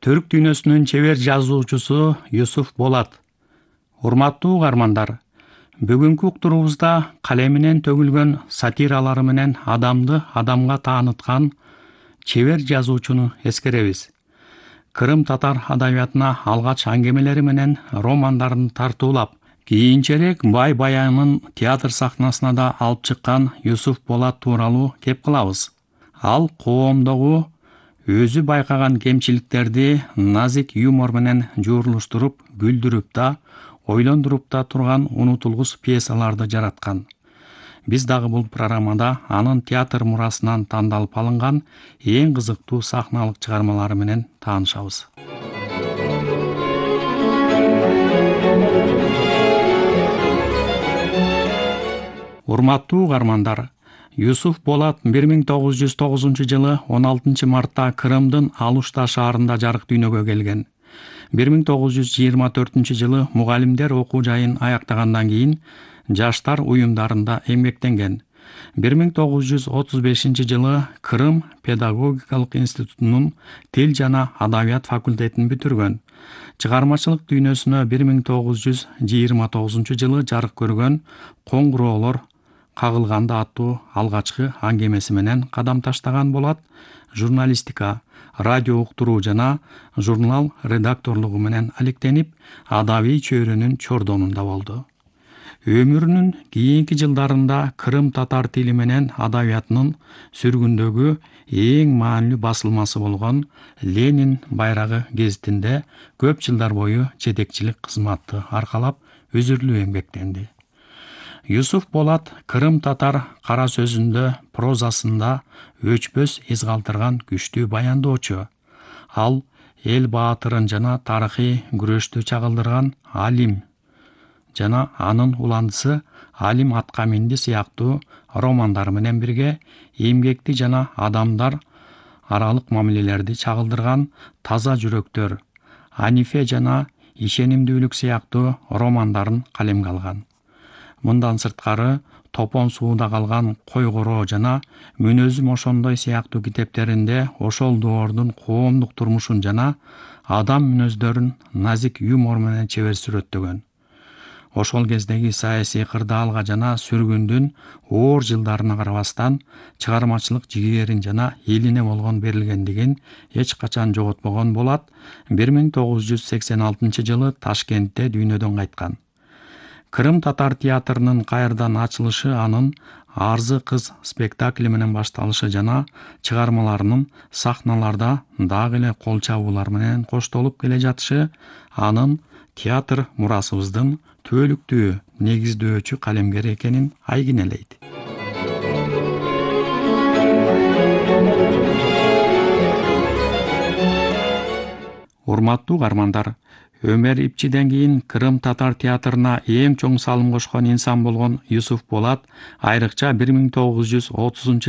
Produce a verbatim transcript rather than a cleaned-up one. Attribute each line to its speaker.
Speaker 1: Түрк дүйнөсүнүн чебер жазуучусу Юсуф Болат. Урматтуу угармандар, бүгүнкү уктуруубузда калеминен төгүлгөн сатиралары менен адамды адамга тааныткан чебер жазуучуну эскеребиз. Кырым татар адабиятына алгач аңгемелери менен романдарын тартуулап, кийинчерээк бай баянын театр сахнасына да алып чыккан Юсуф Болат тууралуу кеп кылабыз. Ал коомдогу өзү байкаган кемчиликтерди назик юмор менен жуурулуштуруп, күлдүрүп да, ойлондуруп да турган унутулгус пьесаларды жараткан. Биз дагы бул программада анын театр мурасынан тандалып алынган эң кызыктуу сахналык чыгармалары менен таанышабыз. Урматтуу угармандар, Юсуф Болат бир миң тогуз жүз тогузунчу жылы он алтынчы мартта Кырымдын Алушта шаарында жарык дүйнөгө келген. бир миң тогуз жүз жыйырма төртүнчү жылы мугалимдер окуу жайын аяктагандан кийин жаштар уюмдарында эмгектенген. бир миң тогуз жүз отуз бешинчи жылы Кырым педагогикалык институтунун тил жана адабият факультетин бүтүргөн. Чыгармачылык дүйнөсүнө бир миң тогуз жүз жыйырма тогузунчу жылы жарык көргөн Коңгуроолор кагылганда аттуу алгачкы аңгемеси менен кадам таштаган Болат журналистика, радио уктуруу жана журнал редакторлугу менен алектенип, адабий чөйрөнүн чордонунда болду. Өмүрүнүн кийинки жылдарында Кырым татар тили менен адабиятынын сүргүндөгү эң маанилүү басылмасы болгон Ленин байрагы гезитинде көп жылдар бою жетекчилик кызматты аркалап, үзүрлүү эмгектенди. Юсуф Болат Кырым татар кара сөзүндө, прозасында өчпөс из калтырган күчтүү баяндоочу. Ал эл баатырын жана тарыхый күрөштү чагылдырган Алим жана анын уландысы Алим атка минди сыяктуу романдары менен бирге эмгекти жана адамдар аралык мамилелерди чагылдырган Таза жүрөктөр, Анифе жана Ишенимдүүлүк сыяктуу романдарын калемге алган. Мындан сырткары Топон сууда калган Койгороо жана Мүнөзүм ошондой сыяктуу китептеринде ошол доордун коомдук турмушун жана адам мүнөздөрүн назик юмор менен чебер сүрөттөгөн. Ошол кездеги саясий кырдаалга жана сүргүндүн оор жылдарына карабастан чыгармачылык жигерин жана элине болгон берилгендигин эч качан жоготпогон Болат бир миң тогуз жүз сексен алтынчы жылы Ташкентте дүйнөдөн кайткан. Кырым татар театрынын кайрадан ачылышы анын Арзы кыз спектакли менен башталышы жана чыгармаларынын сахналарда дагы эле кол чабуулар менен коштолуп келе жатышы анын театр мурасыбыздын түбөлүктүү негиздөөчү калемгери экенин айгинелейт. Урматтуу угармандар, Өмөр Ипчиден кийин Кырым татар театрына эң чоң салым кошкон инсан болгон Юсуф Болат айрыкча бир миң тогуз жүз отузунчу